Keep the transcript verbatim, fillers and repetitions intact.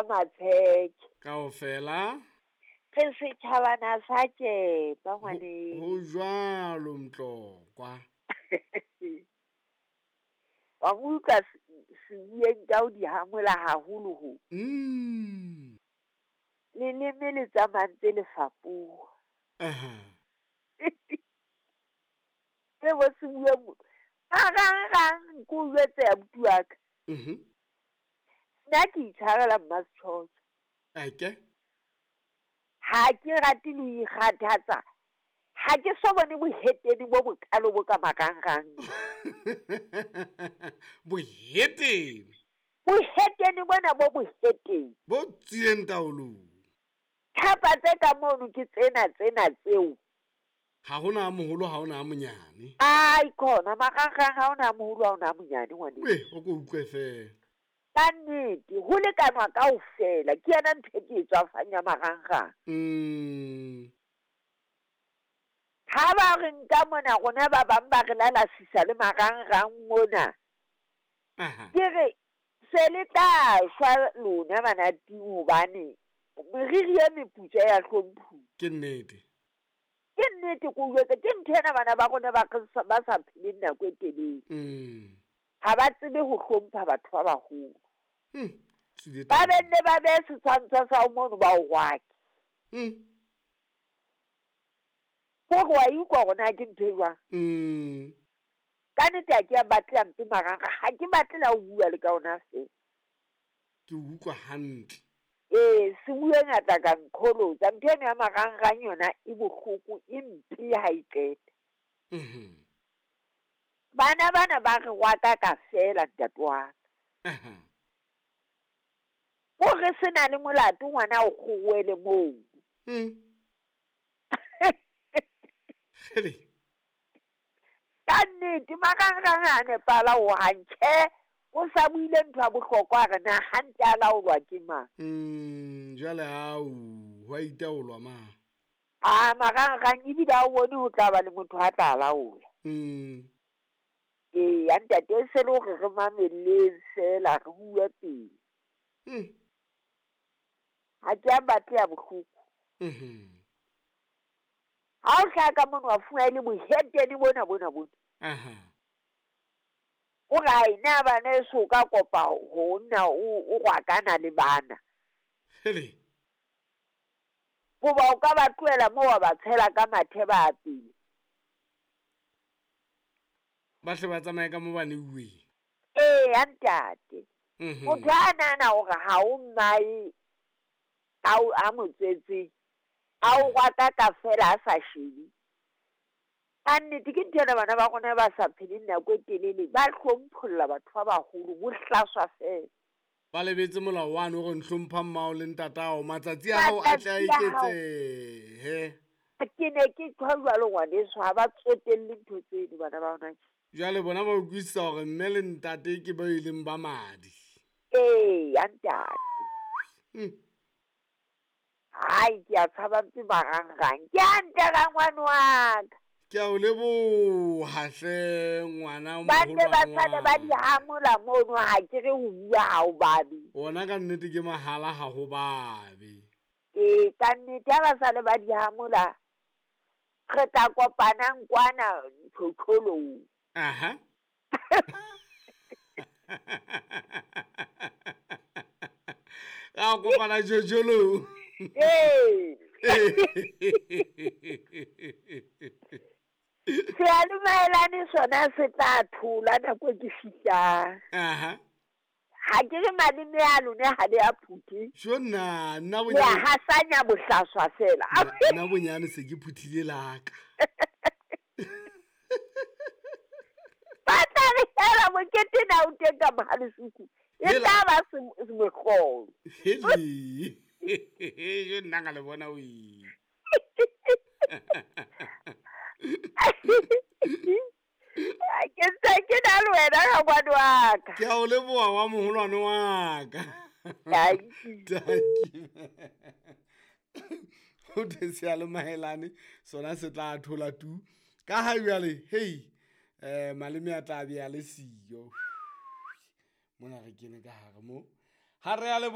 Matsheke. Kaofela. Re setjhabana sa tjepa ngwaneso. Ho jwalo Mtlokwa. Wa mo utlwa sebueng ka ho di hamola haholo ho. Mm. Leleme le tsamaya ntse le fapoha. Aha. Le bo sebueng marangrang ke o jwetse abuti wa ka. Mhm. Nna ke itshwarela Mmasetjhotjho. Eke. Ha ke rate le ho ikgathatsa. Ha ke so bone bohetene bo bokalo bo ka marangrang. Bohetene. Bohetene bona bo bohetene. Bo tswileng taolong. Thapa tse ka mono ke tsena tsena tseo. Ha hona a moholo, ha hona a monyane. Ai khona marangrang ha hona a moholo, ha hona a monyane ngwaneso. Weh, o ko utlwe feela. Ka nnete, ho lekanwa kaofela. Ke yona ntho e ke e tswafang ya marangrang. Mm. Ha ba re nka mona rona ba bang ba re lalasisa le marangrang mona. Aha. Ke re se le tla shwa lona bana ting hobane meriri e meputswa ya hlomphuwa. Ke nnete. Ke nnete ko jwetse, ke ntho ena bana ba rona ba re sa, ba sa pheleng nako e telele. Mm. Ha ba tsebe ho hlompha batho ba baholo. Mm. Tswile Ba taba. benne ba behe setshwantsho sa ho mono ba o rwake. Mm. Hore wa e utlwa hore na ke ntho e jwang. Mm. Ka nnete ha ke a batle hampe marangrang, ha ke batle la ho bua le ka ona feela. Ke utlwa hantle. Ee, se bue ngata ka nqholotsa. Ntho eno ya marangrang yona e bohloko, e mpe ha e qeta. Mhm. Bana bana ba re rwaka ka feela ntate wa ka. Aha. Hore se na le molato ngwana o kgowele moo. Mm. Kgele. Ka nnete marangrang ha a nepahala hohang. Tjhe, o sa buile ntho ya bohlokwa hore na hantle a laolwa ke mang. Mm, jwale hao, ho a itaolwa ma. Ah, marangrang ebile ha o bone ho tla ba le motho a tla laola. Mm. Ee, ya ntate e se le hore re mamelleng feela re bue pele. Mm. Ha ke a batle ya bohloko. Mhm. Ha o hlaha ka mono wa fumana e le bohetene bona bona bona. Aha. O re ai na bana eso o ka kopa ho nna o, o rwakana le bana. Hele. Hoba o ka ba tlohela moo wa ba tshela ka mathe ba apele. Ba hle ba tsamaye ka mo ba neuweng. Ee, ya ntate. Mhm. Motho a nahana hore ha o mmae a o, a mo tswetseng, a o rwaka ka feela a sa shebe. Ka nnete ke ntho ena bana ba rona ba sa pheleng nako e telele, ba hlompholla batho ba baholo, bo hlaswa feela. Ba lebetse molao wane o re hlompha mmao le ntatao, matsatsi a hao a tle a Matsatsi a hao. eketsehe. Ke ne ke tjho jwalo ngwaneso, ha ba tsotelle ntho tseno bana ba rona. Jwale bona ba utlwisisa hore mme le ntate ke ba e leng ba madi. Ee, ya ntate. Mm. Hai, ke a tshaba mpe marangrang. Ke hantle rangwane wa ka. Ke a o leboha hle ngwana o Ba nne ba moholwane sale ba di wa ka. hamola mono, ha ke re ho bua ha o babe. Ona ka nnete ke mahala ha ho babe. Ee, ka nnete ha ba sale ba di hamola, re tla kopanang kwana tjhotjholong. Aha. Ra kopana tjhotjholong. Ee. Seyalemoyelane sona se tla thola nako e ke fihlang. Aha. Ha ke re maleme a lona ha le a phuthe. Tjho nna, nna Le a bonyane. hasanya bohlaswa feela. Nna, nna bonyane se ke phuthile la ka. Ba tla re hela mokete na o teng ka mohalesuku. E Hela. tla ba se-, mohlolo. Hele. Tjho nna ka le bona wee. Ke ntse ke na le wena rangwane wa ka. Ke a o leboha wa moholwane wa ka. Thank you. Thank you. Ho thwe seyalemoyelane sona se tla thola tu. Ka ha jwale, hei, eh, maleme a tla be a le siyo. Mona re kene ka hare mo. Ha re a leboha.